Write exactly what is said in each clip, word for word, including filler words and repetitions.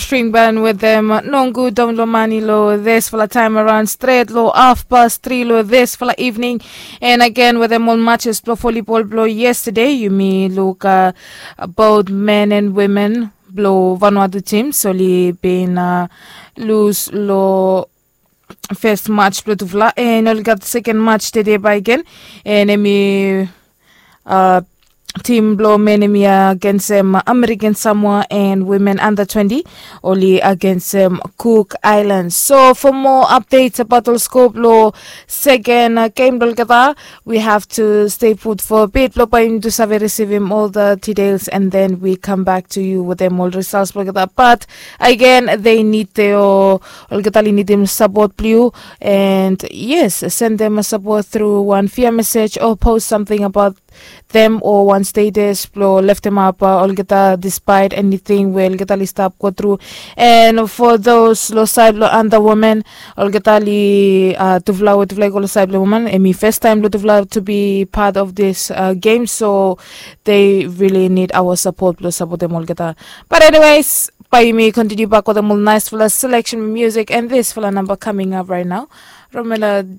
String ban wetem nongu dom long mani long disfala taim aran stret long hafpas tri long disfala evening. And again wetem ol matches blong volleyball blong yesterday, yumi luk uh, both men and women blong Vanuatu teams oli bin uh, lose long first match blong tufala, and oli gat second match today by again. And emi uh, team blong men emi against um, American Samoa and women under twenty, oli against um, Cook Islands. So for more updates about ol scope lo second uh, game blong olgeta, we have to stay put for a bit blong bai yumi tu save receivim all the details, and then we come back to you with them all results blong olgeta. But again, they need their olgeta li nidim support blong you. And yes, send them a support through one via message or post something about them o wan status blong leftemap olgeta despite anything we olgeta li stap go tru. And for those lo side lo under women, olgeta li uh, tufala we tufala i go lo side lo women, emi first time lo tufala to be part of this uh, game, so they really need our support blong support them olgeta. But anyways, bai yumi continue back with them all nice fala selection music and this fala number coming up right now. Romela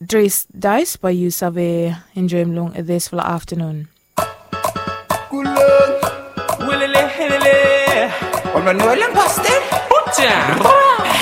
Dris Dice by you Save enjoy long this for the afternoon. Kulon. Welele, helele. Ono Noel and Pastor. Put down.